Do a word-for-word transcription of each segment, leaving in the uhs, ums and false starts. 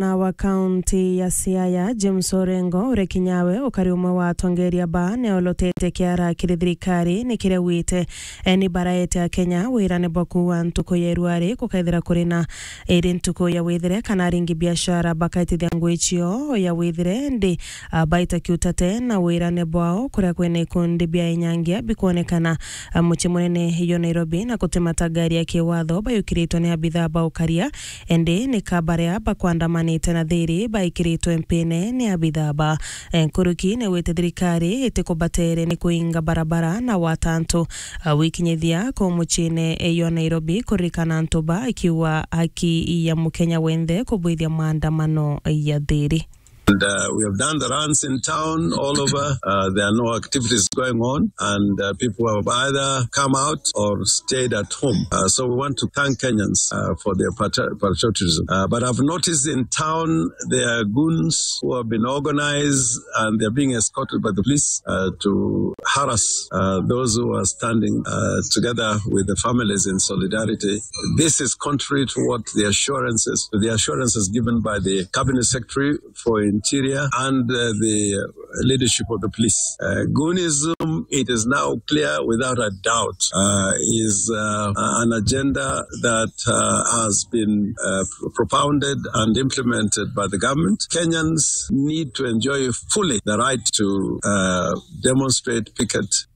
Gavana wa kaunti ya Siaya, James Orengo, uria kinya we ukari umwe wa atongeria ba neolotete kiara kiri thirikari ni kiria wite, eh, ni baraete Akenya wirane bwa kuua ntuku ya irwari gukaithira kuri na iri ntuku ya withire kana aringi biashara bakaitithia ngui cio ya withire ndi, ah, baita kiutate na wirane bwao kuria kwina ikundi bia inyangia bikwonekana, ah, mucii munene yo Nairobi na gutimata ngari ya kiwatho bayukiritwe ni abithaa ba ukaria. Indi ni ka baria bakwandamanite na thiri baikiritwe mpine ni abithaa ba, eh, nkuruki ni wite thirikari itikubatere ni kuinga barabara na watantu, ah, wikinyithia ku muciine yo Nairobi kuririkana antu ba ikiuga haki ya Mukenya wenthe kubwithia maandamano ya thiri. And, uh, we have done the runs in town all over. Uh, there are no activities going on, and, uh, people have either come out or stayed at home. Uh, so we want to thank Kenyans, uh, for their patri-, patriotism. Uh, but I've noticed in town there are goons who have been organized and they're being escorted by the police, uh, to harass, uh, those who are standing, uh, together with the families in solidarity. This is contrary to what the assurances, the assurances given by the cabinet secretary for Interior and, uh, the leadership of the police. Uh, goonism, it is now clear without a doubt, uh, is, uh, an agenda that, uh, has been, uh, propounded and implemented by the government. Kenyans need to enjoy fully the right to, uh, demonstrate, picket,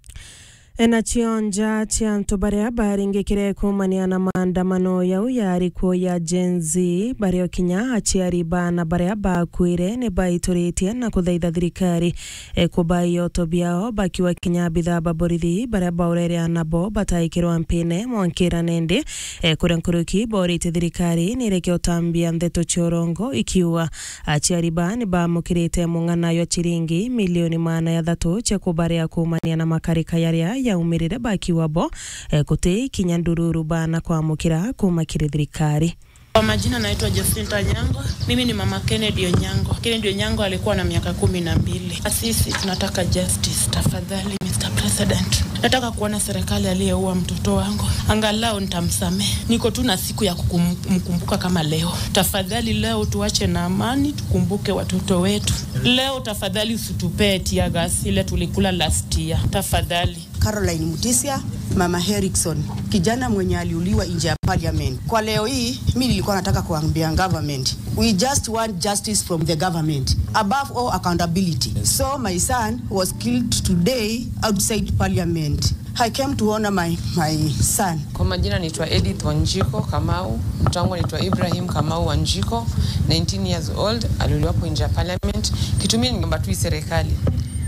Enacio nja cia antu baria baringikire kuumania na maandamano yau yari kuo ya Gen Z, bario kinya aciari baana baria bakwire ni baituritie na kuthaitha thirikari, e, kuba ioto biao, bakiwa kinya abithaa ba borithi baria baurere anabo bataikirwa mpine mwankira nendi, e, kuria nkuruki boritie thirikari ni ireke utambia ndeto cia urongo ikiuga aciari ba ni bamukirite mung'ana jwa ciringi milioni maana ya thatu cia kubaria kuumania na makarika jaria jaumirire bakiuga bo, eh, guti kinya ndururu baana kwamukira kuuma kiri thirikari. Kwa majina naitwa Jacinta Onyango. Mimi ni mama Kennedy Onyango. Kennedy Onyango alikuwa na miaka kumi na mbili. Sisi tunataka justice, tafadhali, Mister President. Nataka kuona serikali aliyeua mtoto wangu. Angalau nitamsamehe. Niko tu na siku ya kukum-, kumkumbuka kama leo. Tafadhali leo tuache na amani, tukumbuke watoto wetu. Leo tafadhali usitupee tear gas ile tulikula last year. Tafadhali. Caroline Mutisia, Mama Harrison, kijana mwenye aliuliwa nje ya parliament. Kwa leo hii, mimi nilikuwa nataka kuambia government, we just want justice from the government. Above all, accountability. So my son was killed today outside parliament. I came to honor my, my son. Kwa majina naitwa Edith Wanjiko Kamau, mtoto wangu anaitwa Ibrahim Kamau Wanjiko, nineteen years old, aliuliwa hapo nje ya parliament. Kitu mimi ningeomba tu hii serikali,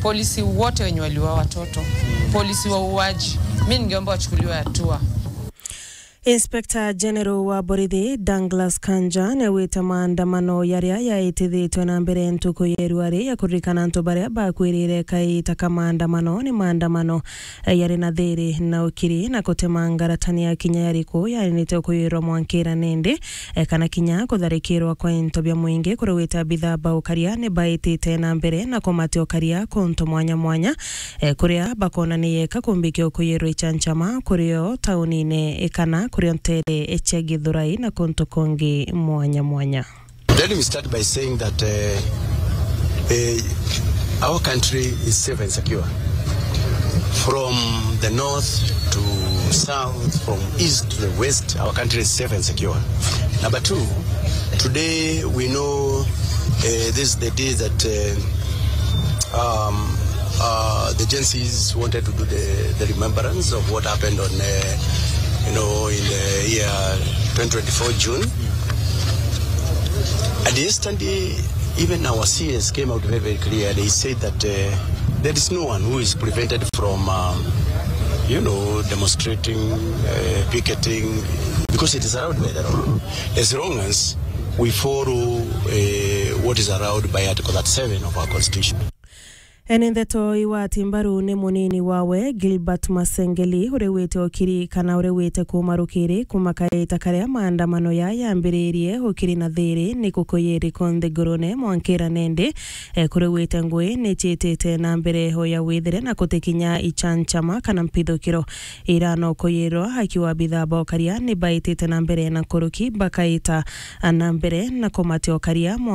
polisi wote wenye waliua watoto, polisi wauaji, mimi ningeomba wachukuliwe hatua. Inspector General wa borithi Douglas Kanja niaugite maandamano jaria jaitithitwe na mbere ntuku ya irua ri ya kuririkana antu baria bakwirire kaita ka maandamano ni maandamano, eh, jari na thiri na ukiri na kutemanga ratani ya kinya jariku jainite kwirwa mwankira nindi, eh, kana kinya kutharikirwa kwa into bia mwingi, kuria wita abithaa ba ukaria ni baitite na mbere na kumatia ukaria kuntu mwanya mwanya, eh, kuria bakona ni yeka kumbikia ukuyirwa ichanchama kurio taunine, eh, kana kurio ntere, eh, cia Githurai na kuntu kungi mwanya mwanya. Let me start by saying that, uh, uh, our country is safe and secure. From the north to south, from east to the west, our country is safe and secure. Number two, today we know, uh, this is the day that, uh, um, uh, the Gen Zs wanted to do the, the remembrance of what happened on, uh, you know, in the year twenty twenty-four June. And yesterday, even our C S came out very, very clear. They said that, uh, there is no one who is prevented from, um, you know, demonstrating, uh, picketing, because it is allowed by the law. As long as we follow, uh, what is allowed by Article thirty-seven of our Constitution. Ene ndeto igwati mbaru ni munini wawe Gilbert Masengeli, uri wite ukiri kana uri wite kuuma rukiri kuuma kaita karia maandamano ya yambiririe ukiri na thiri ni kukuyiri konthe ngurune mwankira nendi. E, kuri wite ngui ni ciitite na mbere ho ya withire na kutikinya ichanchama kana mpithukiro. Ira no kuyirwa akiwa bithaa bokaria ni baitite na mbere na nkuruki bakaita na mbere na kumatiokaria